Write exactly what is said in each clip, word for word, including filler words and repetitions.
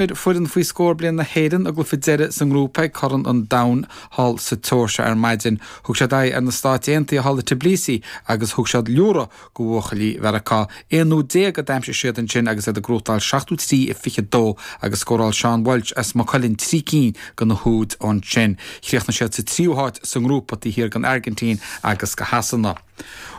Foireann faoi scór bliain na hÉireann a gcluiche deiridh sa ngrúpa ag Corn an Domhain thall sa tSeoirsia ar maidin. Thug siad aghaidh ar na Stáit Aontaithe thall i Tbilisi agus thug siad liúradh go bhuachaillí Mheiriceá. Aon úd déag a d'aimsigh siad ansin agus iad ag gnóthachtáil seachtó trí a fiche dó agus scóráil Seán Walsh as Maigh Cuilinn trí cinn de na húid ansin. Chríochnaigh siad sa tríú háit sa ngrúpa taobh thiar den Airgintín agus de Shasana.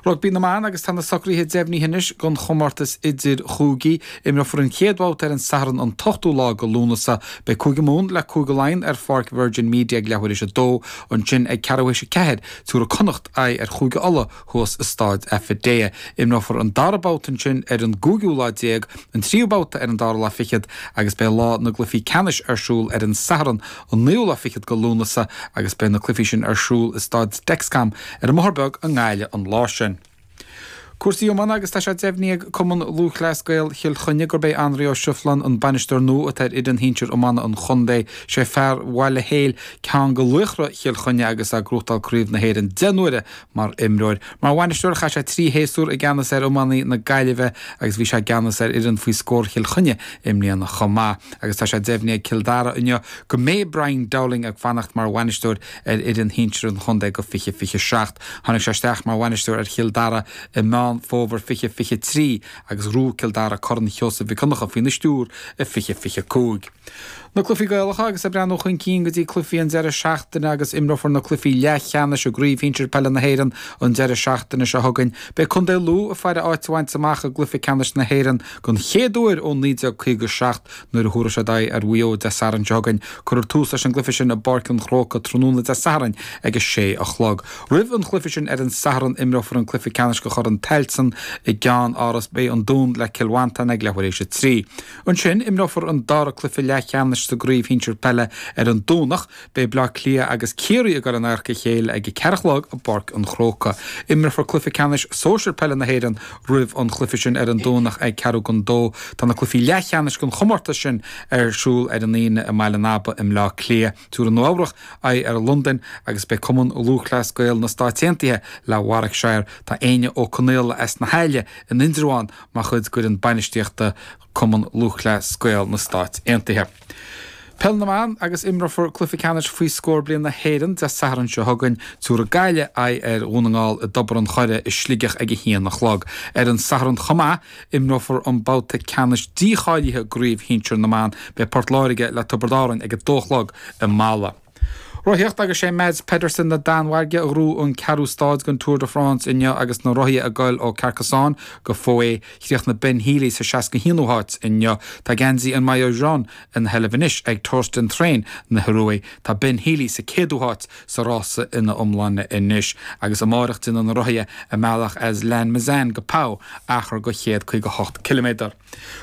Rugbaí na mban agus tá na socruithe deimhnithe anois don chomórtas idir-chúigí. Imreofar an chéad bhabhta ar an Satharn an t-ochtú lá de Lúnasa. Beidh Cúige Mumhan le Cúige Laighean ar Pháirc Virgin Media ag leathuair théis a dó, ansin ag ceathrú théis a ceathair tabharfaidh Connacht aghaidh ar Chúige Uladh thuas i Staid Affidea. Imreofar an dara babhta ansin ar an gcúigiú lá déag, an tríú babhta ar an dara lá fichead agus beidh lá na gcluichí ceannais ar siúl ar an Satharn an naoú lá fichead de Lúnasa agus beidh na cluichí sin ar siúl i Staid Dexcom ar an mBóthar Beag i nGaillimh an lá sin. Cúrsaí iomána agus tá sé deimhnithe ag Cumann Lúthchleas Gael Chill Chainnigh gurb é Anraí Ó Sriofláin an bainisteoir nua atá ar fhoireann shinsir iomána an chontae. Sé fear Bhaile Héil ceann de laochra Chill Chainnigh agus é ag gnóthachtáil Craobh na hÉireann deich n-uaire mar imreoir. Mar bhainisteoir chaith sé trí shéasúr i gceannas ar iománaí na Gaillimhe agus bhí sé i gceannas ar fhoireann faoi scór Chill Chainnigh i mbliana chomh maith. Agus tá sé deimhnithe ag Cill Dara inniu go mbeidh Brian Dowling ag fanacht mar bhainisteoir ar fhoireann shinsir an chontae go fiche fiche seacht. Tháinig sé isteach mar bhainisteoir ar Chill Dara i Meán Fómhair fiche fiche trí agus ghnóthaigh Cill Dara Corn Sheosaimh Mhic Dhonncha faoina stiúir i fiche fiche cúig. Na cluichí Gaelacha agus ag breathnú chun cinn go dtí cluichí an deireadh seachtaine agus imreofar na cluichí leathcheannais i gCraobh Shinsir Peile na hÉireann an deireadh seachtaine seo chugainn. Beidh Contae Lú ag faire áit a bhaint amach i gcluiche ceannais na hÉireann don chéad uair ó naoi déag caoga seacht nuair a thabharfaidh siad aghaidh ar Mhaigh Eo Dé Sathairn seo chugainn. Cuirfear tús leis an gcluiche sin i bPáirc an Chrócaigh tráthnóna Dé Sathairn ag a sé a chlog. Roimh an chluiche sin ar an Satharn imreofar an cluiche ceannais do Chorn Tailteann i gCeann-Áras. Beidh an Dún le Cill Mhantáin ag leathuair théis a trí. Ansin imreofar an dara cluiche leathcheannais sa gcraobh shinsir peile ar an Domhnach. Beidh Bleá Cliath agus Ciarraí ag dul in adharca a chéile ag a ceathair a chlog i bPáirc an Chrócaigh. Imreofar cluiche ceannais sóisir peile na hÉireann roimh an chluiche sin ar an Domhnach ag ceathrú don dó. Tá na cluichí leathcheannais den chomórtas sin ar siúl ar an Aoine i mBaile an Aba i mBleá Cliath. Tabharfaidh Nua Eabhrac aghaidh ar Londain agus beidh Cumann Lúthchleas Gael na Stáit Aontaithe le Warwickshire. Tá Éinne Ó Conaola as na hAille in Indreabhán mar chuid d'fhoireann bainistíochta Cumann Lúthchleas Gael na Stáit Aontaithe. Peil na mBan agus imreofar cluiche ceannais faoi scór bliain na hÉireann Dé Sathairn seo chugainn. Tabharfaidh Gaillimh aghaidh ar Dhún na nGall i dTobar an Choire i Sligeach ag a haon a chlog. Ar an Satharn chomh maith, imreofar an babhta ceannais dícháilithe i gCraobh Shinsir na mBan. Beidh Port Láirge le Tiobraid Árann ag a dó a chlog i Mala. Rothaíocht agus sé Mads Pedersen na Danmhairge a ghnóthaigh an ceathrú stáid den Tour de France inniu agus na rothaithe ag goil ó Carcassonne go Foix. Chríochnaigh Ben Healy sa seasca haonú háit inniu. Tá geansaí an maillot jaune ina sheilbh anois ag Torstein Træen na hIorua. Tá Ben Healy sa céadú háit sa rása ina iomláine anois agus amárach déanfaidh na rothaithe a mbealach as Lannemezan go Pau, achar de chéad caoga hocht ciliméadar.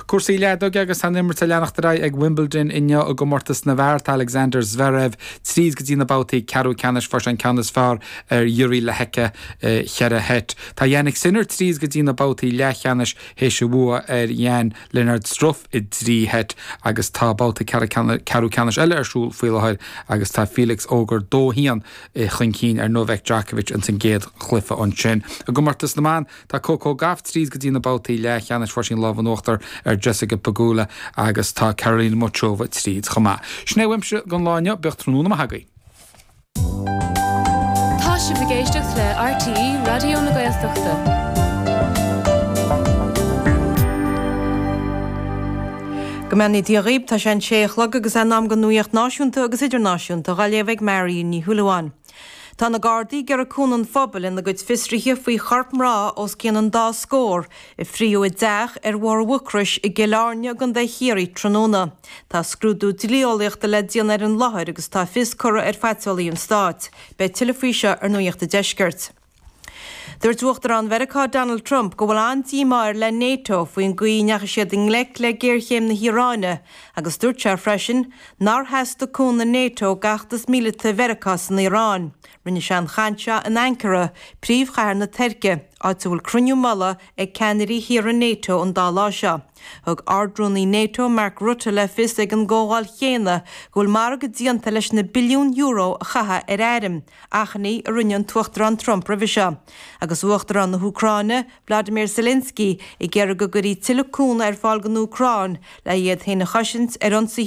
Cúrsaí leadóige agus tá an imirt ag leanacht ar aghaidh ag Wimbledon inniu i gcomórtas na bhfear. Tá Alexander Zverev tríd go dtí na babhtaí ceathrú ceannais. Fuair sé an ceann is fearr ar Jiří Lehecka i cheithre sheit. Tá Jannik Sinner tríd go dtí na babhtaí leathcheannais théis a bhua ar Jan Lennard Struff i dtrí sheit agus tá babhta ceathrú ceannais eile ar siúl faoi láthair agus tá Felix Auger dó haon chun cinn ar Novak Djokovic ins an gcéad chluiche ansin. I gcomórtas na mban, Tá Coco Gauff tríd go dtí na babhtaí leathcheannais, fuair sí an lámh in uachtar ar Jessica Pegula agus tá Karolina Muchova tríd chomh maith. Sin é uaimse don lá inniu, bíodh tráthnóna maith agaibh. Tá sibh ag éisteacht le RTÉ Raidió na Gaeltachta. Go mbeannaí Dia dhaoib, tá sé an sé a chlog agus é in am don nuaíocht náisiúnta agus idirnáisiúnta dhá léamh ag Mary Ní Shúilleabháin. Tá na Gardaí ag iarraidh cúnamh an phobail ina gcuid fiosruithe faoi chorp mná os cionn an dá scór a fríodh i dteach ar Bhóthar Mhucrois i gCill Airne i gContae Chiarraí tráthnóna. Tá scrúdú dlí-eolaíochta le déanamh ar an láthair agus tá fios curtha ar phaiteolaí an stáit. Beidh tuilleadh faoi seo ar Nuacht an Deiscirt. Dúirt Uachtarán Mheiriceá Donald Trump go bhfuil an-díomá air le Nato faoin gcaoi a ndeachaigh siad i ngleic le géarchéim na hIaráine agus dúirt sé freisin nár theastaigh cúnamh Nato d'fheachtas míleata Mheiriceá san Iaráin. Rinne sé an chaint seo in Ankara, príomhchathair na Tuirce, áit a bhfuil cruinniú mullaigh ag ceannairí thíortha NATO an dá lá seo. Thug Ardrúnaí NATO Mark Rutte le fios ag an gcomhdháil chéanna go bhfuil margadh déanta leis na billiúin euro a chaitheamh ar airm, achainí a rinne an tUachtarán Trump roimhe seo. Agus Uachtarán na hÚcráine, Vladimir Zelensky, ag iarraidh go gcuirfí tuilleadh cúnamh ar fáil don Úcráin le iad féin a chosaint ar ionsaithe